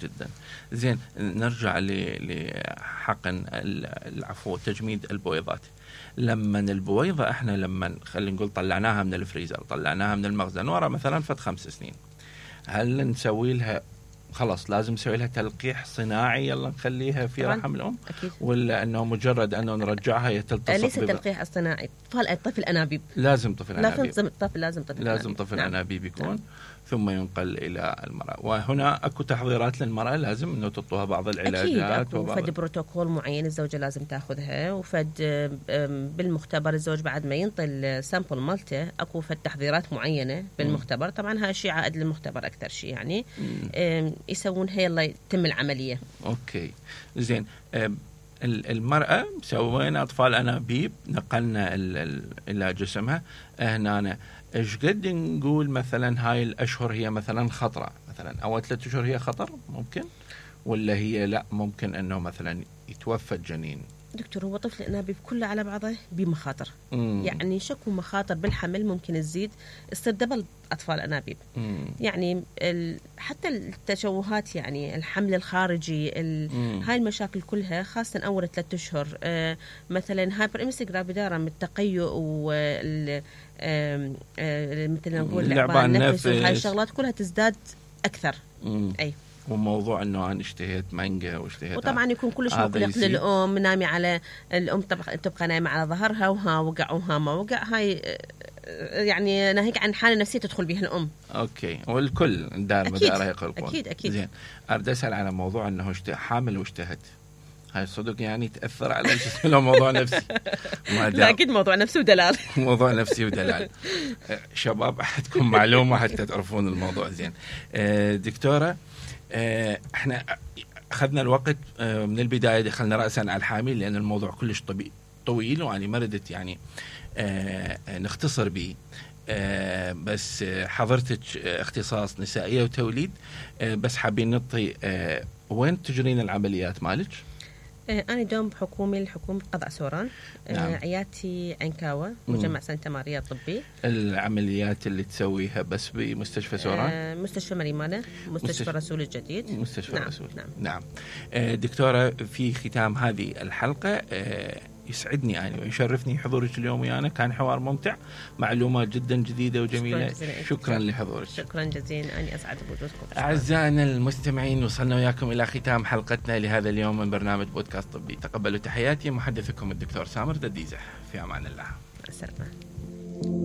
جدا. زين، نرجع لحقن العفو تجميد البويضات. لما البويضة احنا لما خلينا نقول طلعناها من الفريزر، طلعناها من المخزن ورا مثلا فد 5 سنين، هل نسوي لها خلاص لازم نسوي لها تلقيح صناعي يلا نخليها في رحم الام؟ أكيد. ولا انه مجرد انه نرجعها يتلتصق؟ ليس تلقيح اصطناعي، طفل انابيب. لازم طفل انابيب. لازم طفل انابيب يكون. نعم. ثم ينقل الى المراه. وهنا اكو تحضيرات للمراه لازم انه تعطوها بعض العلاجات. اكيد فد بروتوكول معين الزوجه لازم تاخذها، وفد بالمختبر الزوج بعد ما ينطي السامبل مالته اكو فد تحضيرات معينه بالمختبر. طبعا هاي الشيء عائد للمختبر اكثر شيء يعني. يسوونها يلا يتم العمليه. اوكي زين. المرأة سوينا أطفال أنابيب، نقلنا إلى جسمها. هنا إيش قد نقول مثلا هاي الأشهر هي مثلا خطرة، مثلا أول 3 أشهر هي خطر ممكن، ولا هي لا ممكن أنه مثلا يتوفى الجنين؟ دكتور، هو طفل الأنابيب كله على بعضه بمخاطر. يعني شكو مخاطر بالحمل ممكن تزيد استردبل أطفال أنابيب. يعني حتى التشوهات، يعني الحمل الخارجي، هاي المشاكل كلها خاصة أول 3 أشهر. مثلا هايبر جرافيدارا من التقيؤ مثل ما نقول لعبان النفس، وهاي الشغلات كلها تزداد أكثر. أي. وموضوع انه انا اشتهيت مانجا واشتهيت، وطبعا يكون كلش مقلق للام، نامي على الام تبقى نايمه على ظهرها، وها وقع وها ما وقع. هاي يعني ناهيك عن حاله نفسيه تدخل بها الام. اوكي، والكل دار مداره يقلقون. اكيد. زين، اريد اسال على موضوع انه حامل واشتهت، هاي صدق يعني تاثر على الجسم لو موضوع نفسي؟ لا اكيد موضوع نفسي ودلال. موضوع نفسي ودلال. شباب عندكم معلومه حتى تعرفون الموضوع. زين دكتوره، احنا اخذنا الوقت من البدايه، دخلنا راسا على الحامل لان الموضوع كلش طويل، واني ما ردت يعني نختصر به. بس حضرتك اختصاص نسائيه وتوليد، بس حابين نعطي وين تجرين العمليات مالك؟ أنا دوم بحكومي الحكومة قضاء سوران. نعم. عيادتي عنكاوة، مجمع سانتا ماريا الطبي. العمليات اللي تسويها بس بمستشفى سوران؟ مستشفى مريمانة، مستشفى رسول الجديد. مستشفى نعم. رسول. نعم. دكتورة، في ختام هذه الحلقة يسعدني أنا ويشرفني حضورك اليوم ويانا، كان حوار ممتع، معلومات جدا جديدة وجميلة. شكرا لحضورك. شكرا جزيلا، أنا أسعد بوجودكم. أعزائنا المستمعين، وصلنا وياكم إلى ختام حلقتنا لهذا اليوم من برنامج بودكاست طبي. تقبلوا تحياتي، محدثكم الدكتور سامر دديزح. في أمان الله. السلامة.